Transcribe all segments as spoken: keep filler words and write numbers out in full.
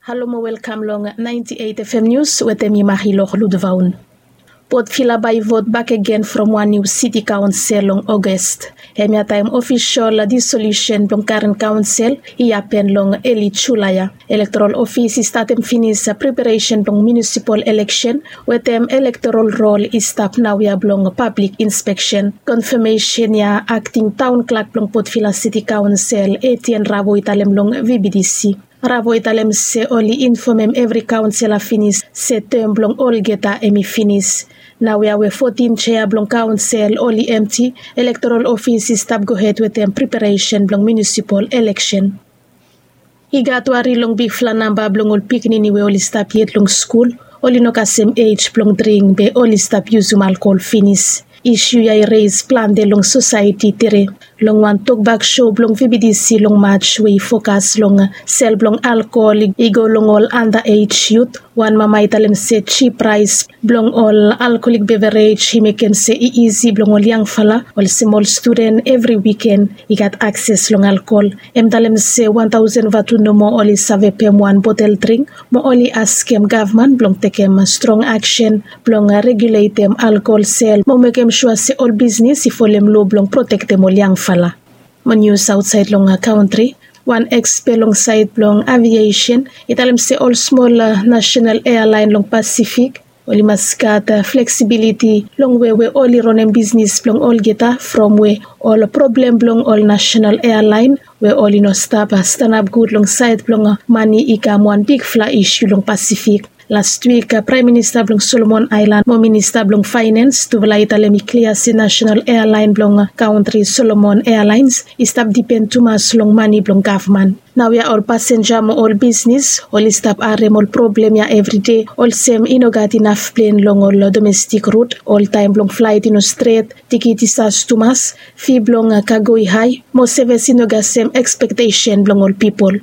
Halo mo welkam long ninety eight F M News wetem mi Marilor Ludvaun. Port Vila bae i vot bakegen from wan niu siti kaonsel long Ogos. Hemia taem ofisol disolusen blong karen kaonsel i hapen long eli Julae ya. Elektorol ofis i statem finis preparesen blong munisipol eleksen wetem elektorol rol i stap naoia blong pablik inspeksen. Konfamesen ya akting taon klak blong Port Vila Siti Kaonsel Etienne Ravo i talem long V B D C. Ravo i talem se oli infomem evri kaonsela finis se tem blong olgeta hemi finis. Naoia we fotin jea blong kaonsel oli emti, elektorol ofis i stap gohed wetem preparesen blong munisipol eleksen. I gat wari long bigfala namba blong ol pikinini we oli stap yet long skul, oli no kasem ej blong dring be oli stap yusum alkol finis. Isu ya i reis plante long sosaeti tere. Long wan tokbak sou blong V B D C long Maj we i fokas long sel blong alkol i go long ol anda ej yut, wan mama i talem se jip praes blong ol alkolik beverej i mekem se i isi blong ol yangfala olsem ol studen evri wiken i gat akses long alkol. Hem talem se wan taosen vatu nomo oli save pem wan botel dring mo oli askem gavman blong tekem strong aksen blong reguletem alkol sel mo mekem sua se ol bisnis i folem loa blong protektem ol yangfala. Mo nius aotsaed long kaontri, wan ekspe long saed blong aviesen i talem se ol smol nasenal ealaen long Pasifik oli mas gat fleksibiliti long we we oli ronem bisnis blong olgeta from we ol problem blong ol nasenal ealaen we oli no stap stanap gud long saed blong mane i kam wan bigfala isu long Pasifik. Lastwik Praem Minista blong Solomon Aelan mo Minista blong Faenens tufala i talem i klia se nasenal ealaen blong kaontri Solomon Ealaens i stap dipen tumas long mane blong gavman. Naoia ol pasenja mo ol bisnis oli stap harem ol problem ya evride olsem i no gat inaf plen long ol domestik rut, oltaem blong flaet i no stret, tikit i sas tumas, fi blong kago i hae mo seves i no gat sem ekspektesen blong ol pipol.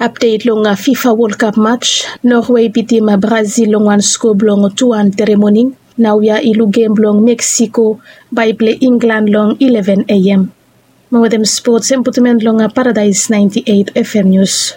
Apdet long FIFA Wol Kap Maj, Norwei bitim Brazil long wan sko blong tu wan tere moning. Naoia i luk gem blong Meksiko bae i plei Inglan long ileven A M. Mo wetem spots hem putum en long Paradaes ninety eight F M Nius.